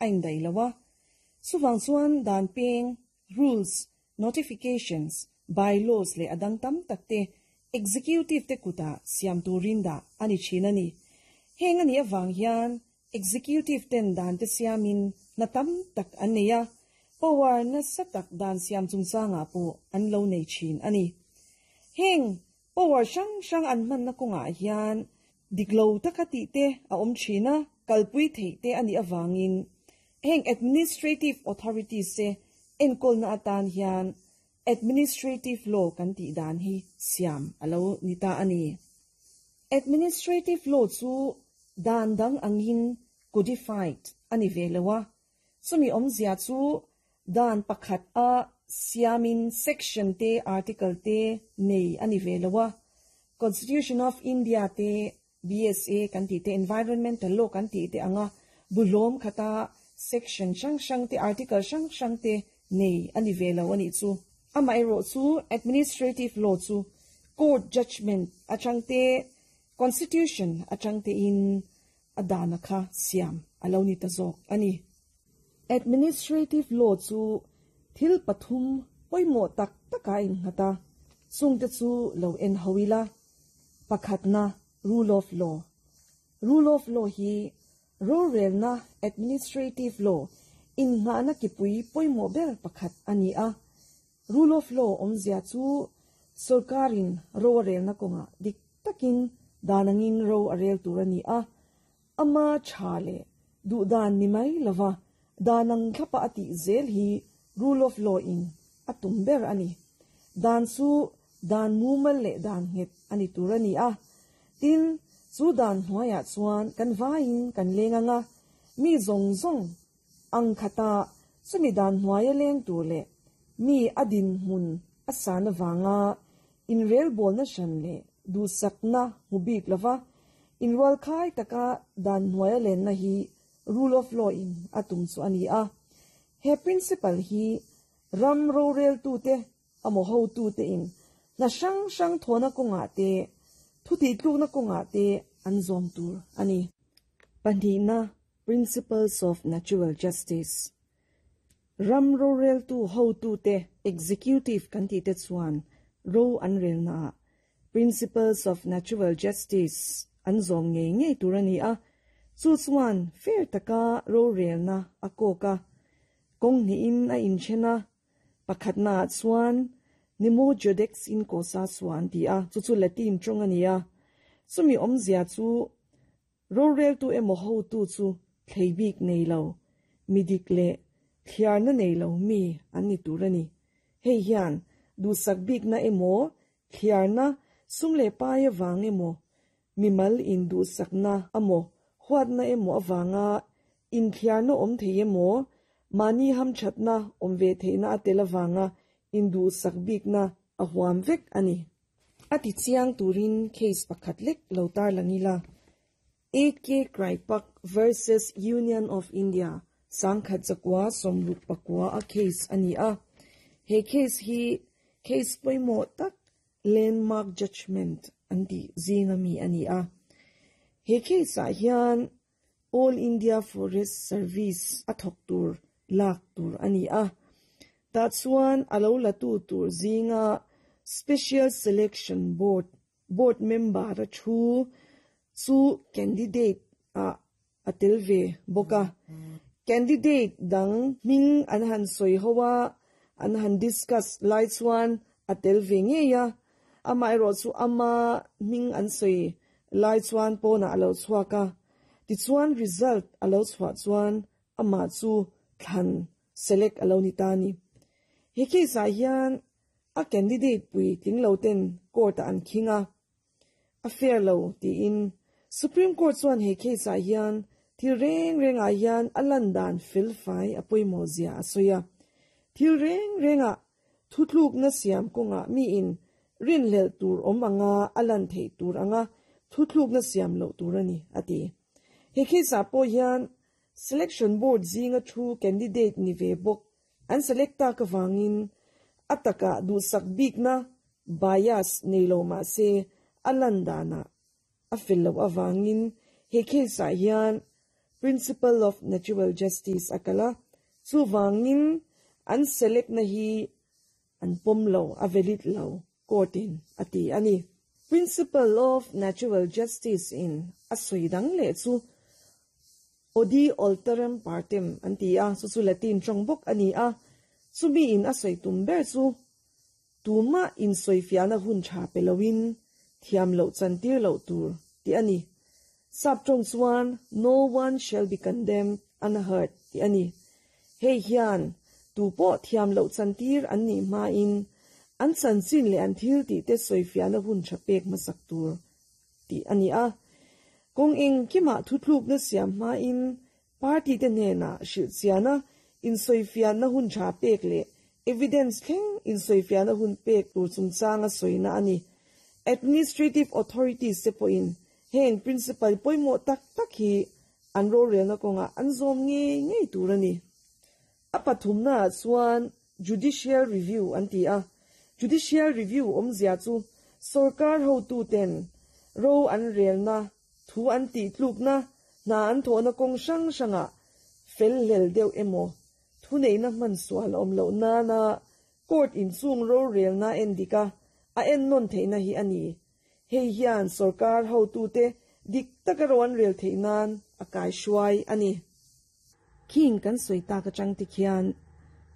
a indaih lo a. Chuvang chuan dan peng, rules, notifications, by-laws leh a dang tam tak te executive te kutah siam turin dah a ni thin a ni. Heng a nih avang hian executive ten dan te siamin hna tam tak an nei a, power nasa tak dan siam chungchangah pawh an lo nei thin a ni. Heng Power hrang hrang an hmanna kawngah hian dik lo taka tih te a awm thin a, kalpui theih te a nih avangin heng administrative authorities te enkawlna atan hian administrative law kan tih dan hi siam a lo ni ta a ni. Administrative law chu dan dang angin codified a ni ve lo a, Chumi awmzia chu dan pakhat a siamin section te article te nei a ni ve lo a, Constitution of India te BSA kan tih te Environmental Law kan tih te anga buhlawm khata section hrang hrang te article hrang hrang te nei a ni ve lo a nih chu. Amaherawh chu Administrative Law chu Court Judgement atang te Constitution atang tein a dana kha siam a lo ni ta zawk a ni. Administrative law chu thil pathum pawimawh tak tak a innghat a, chungte chu lo en ho ila. Pakhatna, Rule of law. Rule of law hi rorelna, administrative law, innghahna kipui pawimawh ber pakhat a ni a. Rule of law awmzia chu sorkarin ro a relna kawngah dik takin dan angin ro a rel tur a ni a, ama tha leh duh dan ni mai lova dan ang thlapa a tih zel hi rule of law in a tum ber a ni. Dan chu dan mumal leh dan nghet a ni tur a ni a, tin chu dan hnuaiah chuan kan vaiin kan leng ang a, mi zawng zawng Ang khata chumi dan hnuaia leng tur leh mi a dinhmun a san avanga inrelbawlna hran leh duhsakna hmu bik lova inrualkhai taka dan hnuaia lenna hi rule of law in a tum chu a ni a. He principle hi ram roreltute emaw hotute in hna hrang hrang thawhna kawngah te, thutihtlukna kawngah te an zawm tur a ni. Pahnihna Principles of Natural Justice Ram roreltu hotute Executive kan tih te chuan ro an relnaah Principles of Natural Justice an zawm ngei ngei tur a ni a, chu chuan fair taka rorelna a kawk a, kawng hnihin a inthen a, pakhatnaah chuan Nemo Judex in Causa Sua an ti a, chu chu Latin tawng a ni a, chumi awmzia chu Roreltu emaw hotu chu thlei bik nei lo, mi dik leh thliarna nei lo mi an ni tur a ni. Hei hian duhsak bikna emaw, thliarna, sum leh pai avang emaw, mimal induhsakna emaw, huatna emaw avanga inthliarna awm thei emaw, mahni hamthatna awm ve theihna a tel avanga induhsak bikna a huam vek a ni. A ti chiang turin case pakhat lek lo tarlang ila, AK Kraipak versus Union of India sangkhat zakua sawmruk pakua a case a ni a. He case hi case pawimawh tak landmark judgement an tih zinga mi a ni a. He case ah hian All India Forest Service a thawk tur lak tur a ni a, tah chuan a lo la tu tur zinga Special Selection Board board member a thu chu candidate ah a tel ve bawk a. Candidate dang hming an han sawi ho a, an han discuss lai chuan a tel ve ngei a, amaherawh chu ama hming an sawi lai chuan pawnah a lo chhuak a, tichuan result a lo chhuah chuan amah chu thlan select a lo ni ta a ni. He case ah hian a candidate pui tling lo ten court ah an khing a, a fair lo tiin Supreme Court chuan he case ah hian thil reng reng ah hian a lan dan fel fai a pawimawh zia a sawi a, thil reng reng ah Thutlukna siam kawngah miin rinhlelh tur awm anga a lan theih tur anga thutlukna siam loh tur a ni, a ti. He case-ah pawh hian Selection Board zinga thu candidate ni ve bawk an select tak avangin a takah duhsak bikna, bias, nei lo mah se a lan danah a fel loh avangin he case-ah hian. Principle of Natural Justice a kal a, chuvangin an select na hi an pawm lo, a valid lo, court in a ti a ni. Principle of Natural Justice in a sawi dang leh chu Audi alteram partem an ti a, chu chu Latin tawng bawk a ni a, chumi in a sawi tum ber chu Tumah insawifiahna hun tha pe loin thiam loh chantir loh tur tih a ni. Sap tawng chuan No one shall be condemned unheard tih a ni. Hei hian tu pawh thiam loh chantir an nih hmain an chanchin leh an thil tihte sawifiahna hun tha pek hmasak tur tih a ni a. Kawng engkimah thutlukna siam hmain Party te hnenah hrilhchiana insawifiahna hun tha pek leh evidence thleng insawifiahna hun pek tur chungchanga sawina a ni. Administrative authorities te pawhin heng principle pawimawh tak tak hi an rorelna kawngah an zawm ngei ngei tur a ni. A pathumnaah chuan Judicial Review an ti a. Judicial Review awmzia chu sorkar hotuten ro an relna Thu an tih tlukna, hna an thawhna kawng hrang hrangah fel hlel deuh emaw, thuneihna hman sual a awm loh nana court inchung rorelna en dik a, a ennawn theihna hi a ni. Hei hian sorkar hotute dik taka ro an rel theih nan a kaihruai a ni. Khing kan sawi tak atang te khian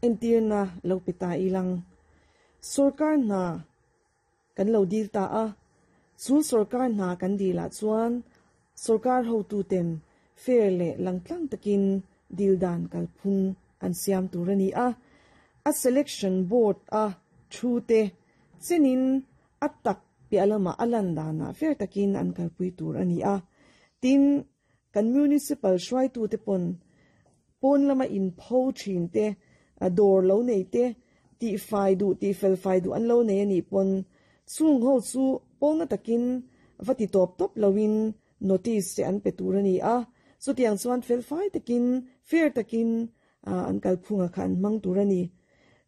entirna lo pe ta ilang. Sorkar hna Kan lo dil ta a, chu sorkar hna kan dil ah chuan sorkar hotuten fair leh langtlang takin dil dan kalphung an siam tur a ni a, a selection board a thu te chenin a tak piah lamah a lan danah fair takin an kalpui tur a ni a, tin kan municipal hruaitute pawn pawn lama inpho thin te, dawr lo nei te, tihfai duh tihfel fai duh an lo nei a nih pawn chung ho chu pawlna takin va ti tawp tawp loin notice te an pe tur a ni a, chutiang chuan felfai takin fair takin an kalphunga kha an hmang tur a ni.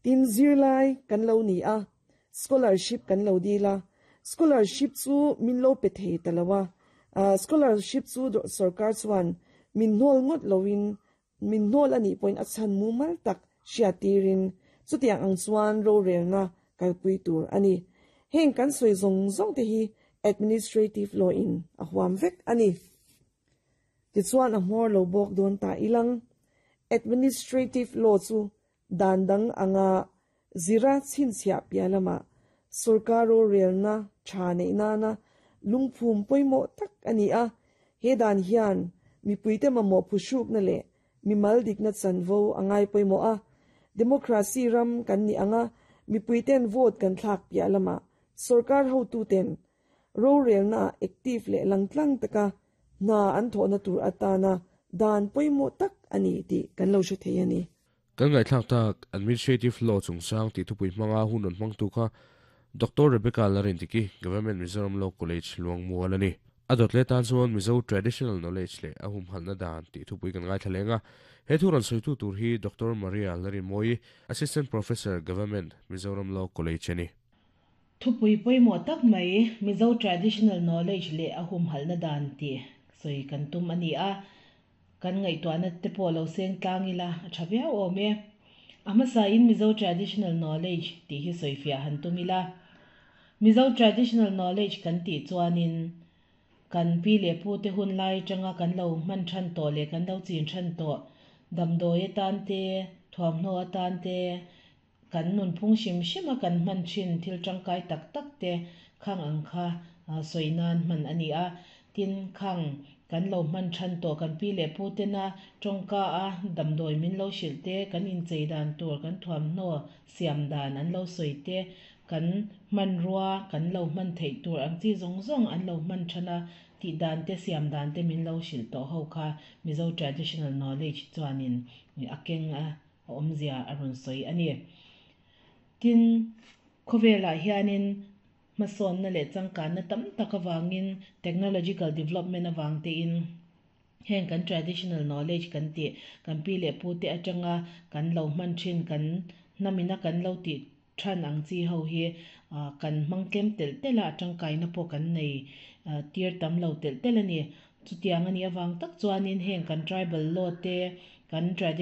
Tin, zirlai kan lo ni a, Scholarship kan lo dil a, scholarship chu min lo pe thei ta lo a, scholarship chu sorkar chuan min hnawl ngawt loin min hnawl a nih pawhin a chhan mumal tak hriat tirin chutiang ang chuan rorelna kalpui tur a ni. Heng kan sawi zawng zawng te hi administrative law in a huam vek a ni. Tichuan a hmawr lo bawk dawn ta ilang. Administrative law chu Dan dang anga zira chhinchhiah piah lamah sorkar rorelna tha neih nana lungphum pawimawh tak a ni a, he dan hian mipuite mamawh phuhrukna leh mimal dikna chanvo a ngai pawimawh a. Democracy ram kan nih anga mipuiten vote kan thlak piah lamah sorkar hotuten rorelnaah active leh langtlang taka hna an thawhna tur atana dan pawimawh tak a ni tih kan lo hre thei a ni. Kan ngaihthlak tak Administrative Law chungchang tih thupui hmanga hun rawn hmangtu kha Doctor Rebecca Larindiki, Government Mizoram Law College, Luangmual a ni. A dawt leh tan chuan Mizo Traditional Knowledge leh a humhalhna dan tih thupui kan ngaithla leng a. He thu rawn sawitu tur hi Doctor Maria Larinmawii, Assistant Professor, Government Mizoram Law College a ni. Thupui pawimawh tak mai Mizo Traditional Knowledge leh a humhalhna dan tih sawi kan tum a ni a. Kan ngaihtuahna te pawh lo seng tlang ila a tha viau awm e. A hmasain Mizo Traditional Knowledge tih hi sawifiah han tum ila. Mizo Traditional Knowledge kan tih chuanin kan pi leh pu te hun lai atanga kan lo hman than tawh leh kan lo chin than tawh damdawi atan te, thuamhnaw atan te, kan nunphung hrim hrima kan hman thin thil tangkai tak tak te khang ang kha sawi nan hman a ni a. Tin, khang kan lo hman than tawh kan pi leh pu tena tawngka a damdawi min lo hrilh te, kan inchei dan tur, kan thuamhnaw siam dan an lo sawi te, kan hmanrua kan lo hman theih tur ang chi zawng zawng an lo hman than a, tih dan te siam dan te min lo hrilh tawh ho kha Mizo Traditional Knowledge chuanin a keng a. A awmzia a rawn sawi a ni. Tin, khawvelah hianin hmasawnna leh changkanna tam tak avangin technological development avang tein heng kan traditional knowledge kan tih, kan pi leh pute atanga kan lo hman thin, kan hnamina kan lo tih than ang chi ho hi kan hmang tlem telh telh a, a tangkaina pawh kan nei tir tam lo telh telh a ni. Chutiang a nih avang tak chuanin heng kan tribal law te, kan traditional.